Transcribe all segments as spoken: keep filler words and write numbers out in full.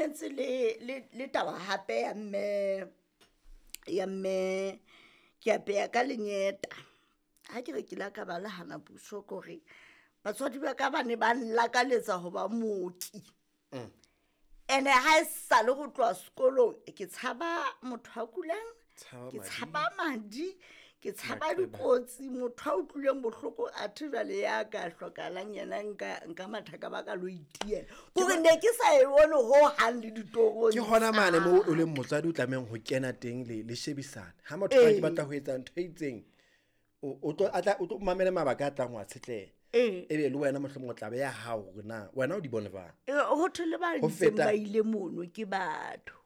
Ntse le le le taba hape ya mme ya mme ke apeya ka lenyeta. Ha ke re ke la ka ba le hana puso kore batswadi ba ka ba ne ba nlakaletsa ho ba mooki. Ene ha e sale ho tloha sekolong ke tshaba motho a kulang, Tshaba ke madi. tshaba madi, ke tshaba Maqeba. dikotsi, motho a utlwileng bohloko athe jwale ya ka hlokahalang yena nka nka matha ka ba ka lo itiela. Kore ne ke sa e bone hohang le ditorong Ke hona mane moo o tsa leng motswadi o tlamehang ho kena teng le le shebisane. Ha motho a ke Ee. batla ho etsa ntho e itseng, o o tlo a tla o tlo mamele mabaka a tlang wa tshetleha. Ee. Ebe le wena mohlomong o tla beha hao hore na wena o di bone jwang. Eh, ho thwe le ba Ho ntseng feta ba ile mono ke batho.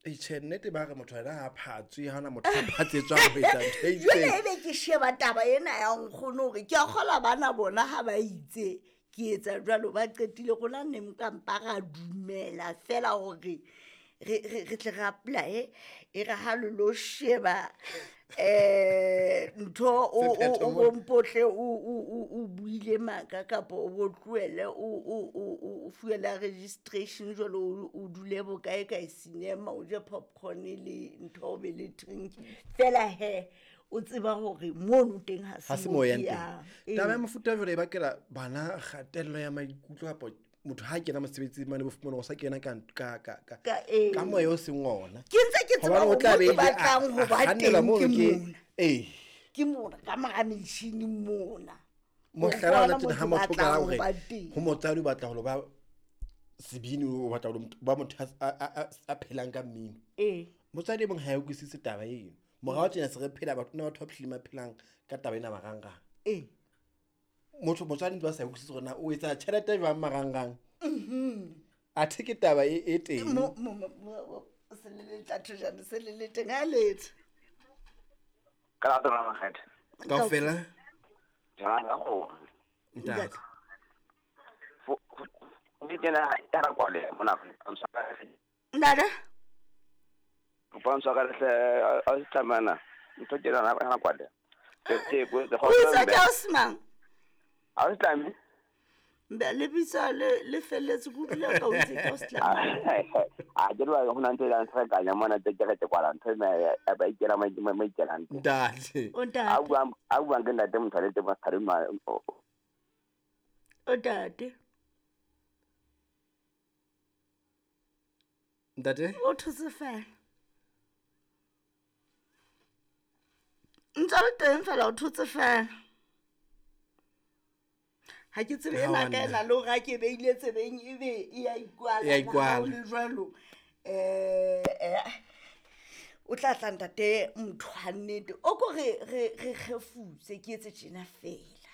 E tjhe, nnete ba re motho yena ha phatswe, ha hona motho a phatsetswang ho etsa ntho e Jwale itseng. ebe ke sheba taba ena ya nkgono hore ke a kgolwa bana bona ha ba itse ke etsa jwalo ba qetile rona ne nka mpa ra dumela fela hore re re re tle re apply-e e re ha le lo sheba eh ntho o o Sephetho o mona. bo mpotle o o o o buile maka kapa o bo tlohele o o o o fuwe la registration jwalo o o dule bokae kae cinema o je popcorn le ntho o be le drink fela he o tseba hore mono teng ha Ha se se mo mo ke yang teng. yang. Taba ya Ee. mofuta jwale e bakela bana kgatello ya maikutlo kapa motho ha kena mosebetsing mane bo fumana o sa kena ka ka ka ka Ka ee. ka moya o seng ona. Ke ntse ke tseba Hobane o hore tla mo be ke ile a batlang ho a ba kgannelwa teng mono ke ke mona. ee. Ke mona ka mora metjhini mona. Mohlala Hore ona ke tjena hona ha mo ke motho o qala batlang ho hore ba teng. ho motswadi o batla ho lo ba sebini, o batla ho ba motho a a a a phelang ka mmino. Ee. Motswadi e mong ha e utlwisise taba eno. Morao tjena se re phela batho na batho ba phileng ba phelang ka taba ena marangrang. Ee. Motho motswadi ntse ba sa utlwisise hore na o etsa tjhelete jwang marangrang. Athe ke taba e e teng. Mo mo mo se le le tla se le le teng ha letho. Ka la tsona makgethe. Kaofela Jwang ka kgomo. ntate. Fo di kena ya ra kwale mona Ntate. Kopa ntshwa ka hle a se tsamana. Ntho ke na na kwale. Ke ke go O itse ke Osman. A se tlame. Mbe le bitsa le le felletse ke utlwile ka o itse ke Osman. A ke re ho na ntho e tsa ka mona tse ke ke kwala ntho ena ya ba ikela ma ma ikela ntho. Ntate. O A ntate. buang a buang ke ntate motho le teng ba ma O ntate. Ntate. O thotse fela. Ntse le teng fela o thotse fela. Ha ke tsebe Ha ena wa ka nna. ena le hore ha ke beile tsebeng ebe e ya ikwala. E ya ikwala. Ha ho le jwalo. Eh eh o tla tla ntate motho wa nnete. O ko re re re kgefutse ke etse tjena fela.